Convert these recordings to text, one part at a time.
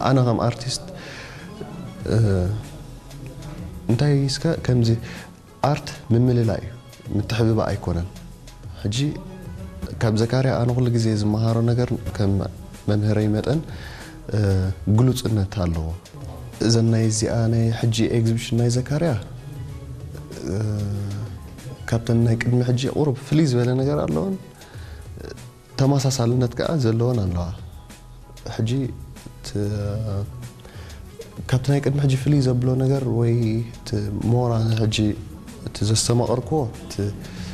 ኣነ ከም ኣርቲስት እንታይ እስከ ከምዚ ኣርት ምምልላ እዩ፣ ምትሕብባ ኣይኮነን። ሕጂ ካብ ዘካርያ ኣነ ኩሉ ግዜ ዝመሃሮ ነገር ከም መምህረይ መጠን ግሉጽነት ኣለዎ። እዘን ናይ እዚኣ ናይ ሕጂ ኤግዚቢሽን ናይ ዘካርያ ካብተን ናይ ቅድሚ ሕጂ ቁሩብ ፍልይ ዝበለ ነገር ኣለዎን ተመሳሳልነት ከዓ ዘለዎን ኣለዋ። ሕጂ ት- ካብቲ ናይ ቅድሚ ሕጂ ፍልይ ዘብሎ ነገር ወይ እቲ ሞራ ሕጂ እቲ ዘስተማቐርክዎ እቲ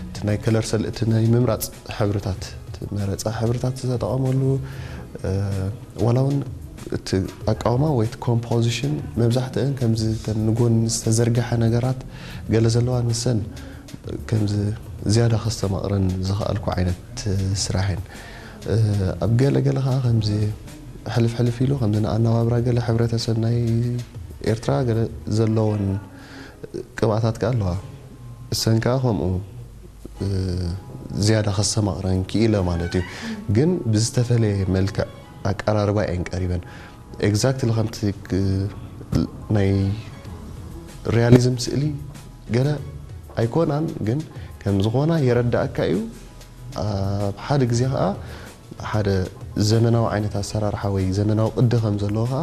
እቲ ናይ ከለር ሰል እቲ ናይ ምምራፅ ሕብርታት እቲ መረፃ ሕብርታት ዝተጠቐመሉ ዋላ እውን እቲ ኣቃውማ ወይ እቲ ኮምፖዚሽን መብዛሕትአን ከምዚ ንጎን ዝተዘርግሐ ነገራት ገለ ዘለዋ ንሰን ከምዚ ዝያዳ ከስተማቕረን ዝኸኣልኩ ዓይነት ስራሕ እየን። ኣብ ገለ ገለ ከዓ ከምዚ ሕልፍ ሕልፍ ኢሉ ከምዚ ንኣነባብራ ገለ ሕብረተሰብ ናይ ኤርትራ ገለ ዘለወን ቅብኣታት ከዓ ኣለዋ። እሰን ከዓ ከምኡ ዝያዳ ከስተማቕረን ክኢለ ማለት እዩ። ግን ብዝተፈለየ መልክዕ ኣቀራርባ እየን ቀሪበን። ኤግዛክትሊ ከምቲ ናይ ሪያሊዝም ስእሊ ገለ ኣይኮናን፣ ግን ከም ዝኾና የረዳእካ እዩ። ኣብ ሓደ ግዜ ከዓ ሓደ ዘመናዊ ዓይነት ኣሰራርሓ ወይ ዘመናዊ ቅዲ ከም ዘለዎ ከዓ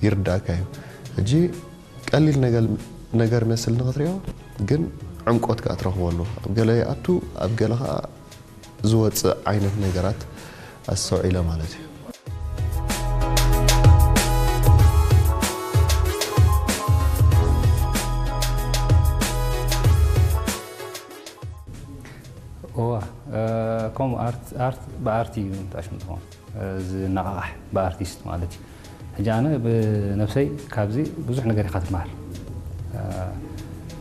ይርዳእካ እዩ። ሕጂ ቀሊል ነገር መስል ንክትሪኦ ግን ዕምቆት ከዓ ትረኽበሉ ኣብ ገለ ይኣቱ ኣብ ገለ ከዓ ዝወፅእ ዓይነት ነገራት ኣስተውዒለ ማለት እዩ። እዋ ከምኡ ኣርት ኣርት ብኣርቲ እዩ ንጣሽም ዝኾን ዝነቃቃሕ ብኣርቲስት ማለት እዩ። ሕጂ ኣነ ብነብሰይ ካብዚ ብዙሕ ነገር ኢኻ ትመሃር።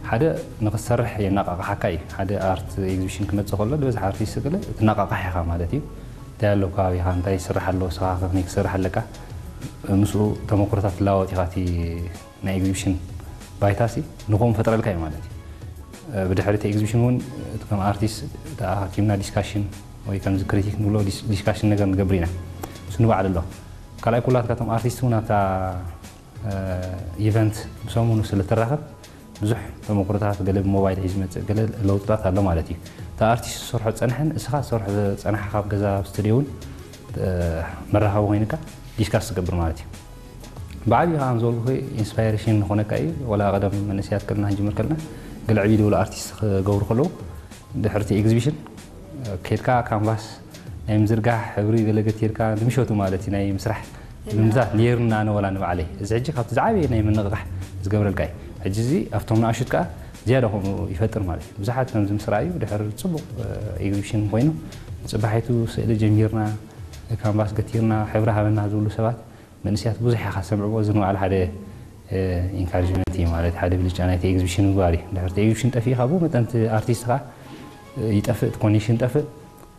ሓደ ንክትሰርሕ የነቃቃሓካ እዩ። ሓደ ኣርት ኤግዚቢሽን ክመፅእ ከሎ ዝበዝሕ ኣርቲስት ገለ ትነቃቃሕ ኢኻ ማለት እዩ። እንታይ ኣሎ ከባቢኻ እንታይ ይስራሕ ኣሎ ስኻ ከመይ ክሰርሕ ኣለካ ምስኡ ተመክሮታት ትለዋወጥ ኢኻ እቲ ናይ ኤግዚቢሽን ባይታሲ ንኸም ፈጥረልካ እዩ ማለት እዩ። ብድሕሪ እቲ ኤግዚቢሽን እውን ከም ኣርቲስት ተኣካኪብና ዲስካሽን ወይ ከምዚ ክሪቲክ ንብሎ ዲስካሽን ነገር ንገብር ኢና። እሱ ንባዕሉ ኣሎ። ካልኣይ ኩላትካ እቶም ኣርቲስት እውን ኣብታ ኢቨንት ብሰሙኑ ስለ ትራኸብ ብዙሕ ተመክሮታት ገለ ብሞባይል ሒዙ መፅእ ገለ ለውጥታት ኣሎ ማለት እዩ። እቲ ኣርቲስት ዝሰርሖ ዝፀንሐን እስኻ ዝሰርሖ ዝፀናሕካ ኣብ ገዛ ኣብ ስቱዲዮ እውን መራኸቢ ኮይንካ ዲስካስ ትገብር ማለት እዩ። ብዓብዩ ከዓ ዝበልኩ ኢንስፓይሬሽን ንኾነካ እዩ። ወላ ቀደም መንእሰያት ከለና ክንጅምር ከለና ገለ ዕብዩ ዝበሉ ኣርቲስት ክገብሩ ከለዉ ድሕርቲ ኤግዚቢሽን ከድካ ካንቫስ ናይ ምዝርጋሕ ሕብሪ ገለ ገቲርካ ንምሸቱ ማለት እዩ ናይ ምስራሕ ልምድታት ነይርና ኣነ ወላ ንባዕለይ። እዚ ሕጂ ካብቲ ዝዓበየ ናይ ምንቕቓሕ ዝገብረልካ እዩ። ሕጂ እዚ ኣብቶም ንኣሹት ከዓ ዝያዳ ከምኡ ይፈጥር ማለት እዩ። ብዙሓት ከምዚ ምስ ረኣዩ ድሕሪ ፅቡቕ ኤግዚቢሽን ኮይኑ ፅባሒቱ ስእሊ ጀሚርና ካንቫስ ገቲርና ሕብሪ ሃበና ዝብሉ ሰባት መንእሰያት ብዙሕ ኢኻ ሰምዕዎ። እዚ ንባዕሉ ሓደ ኢንካሬጅመንት እዩ ማለት ሓደ ብልጫ ናይቲ ኤግዚቢሽን ምግባር እዩ። ድሕርቲ ኤግዚቢሽን ጠፊእካ ብኡ መጠን እቲ ኣርቲስት ከዓ ይጠፍእ፣ እቲ ኮኔክሽን ይጠፍእ።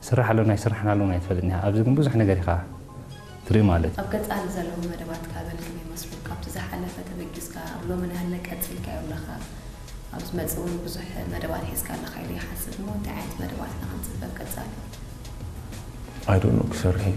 ስራሕ ኣለና ኣይስራሕን ኣለና ኣይትፈልጥን ኢኻ። ኣብዚ ግን ብዙሕ ነገር ኢኻ ትርኢ ማለት እዩ። ኣብ ቀፃሊ ዘለዉ መደባትካ በል ከመይ ይመስሉ? ካብቲ ዝሓለፈ ተበጊስካ ኣብ ሎሚ ንሃለ ቀፂልካዮ ኣለኻ። ኣብ ዝመፅእ እውን ብዙሕ መደባት ሒዝካ ኣለኻ ኢለ ይሓስብ እሞ እንታይ ዓይነት መደባት ኢና ክንፅበ ኣብ ቀፃሊ? I don't know ክሰርሕ እዩ።